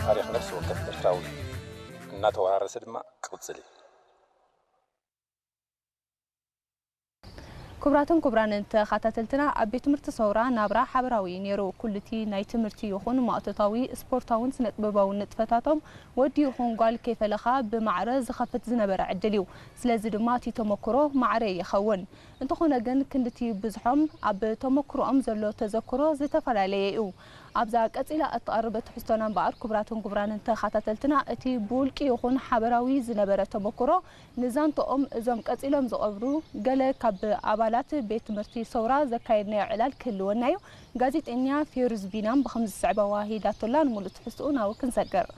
ታሪኽ ነፍሲ ወከፍ ኤርትራዊ እናተወራረሰ ድማ ክቕጽል እዩ። ክቡራትን ክቡራንን ተኸታተልትና፣ ኣብ ቤት ትምህርቲ ሰውራ ናብራ ሓበራዊ እዩ ነይሩ። ኩሉቲ ናይ ትምህርቲ ይኹን ማእቶታዊ፣ ስፖርታውን ስነ ጥበባውን ንጥፈታቶም ወዲ ይኹን ጓል ከይፈለኻ ብማዕረ ዝኸፍት ዝነበረ ዕድል እዩ። ስለዚ ድማ እቲ ተመክሮ ማዕረ ይኸውን። እንተኾነ ግን ክንድቲ ብዝሖም ኣብ ተመክሮኦም ዘሎ ተዘክሮ ዝተፈላለየ እዩ። ኣብዛ ቀጺላ እትቐርብ ትሕዝቶና እምበኣር ክቡራትን ክቡራንን ተኸታተልትና እቲ ብውልቂ ይኹን ሓበራዊ ዝነበረ ተመክሮ ንዛንትኦም እዞም ቀጺሎም ዝቐርቡ ገለ ካብ ኣባላት ቤት ትምህርቲ ሰውራ ዘካየድናዮ ዕላል ክህልወና እዩ። ጋዜጠኛ ፌሩዝ ቢናም ብኸምዚ ዝስዕብ ኣዋሂዳቶላ ንምሉእ ትሕዝትኡ ናብኡ ክንሰግር።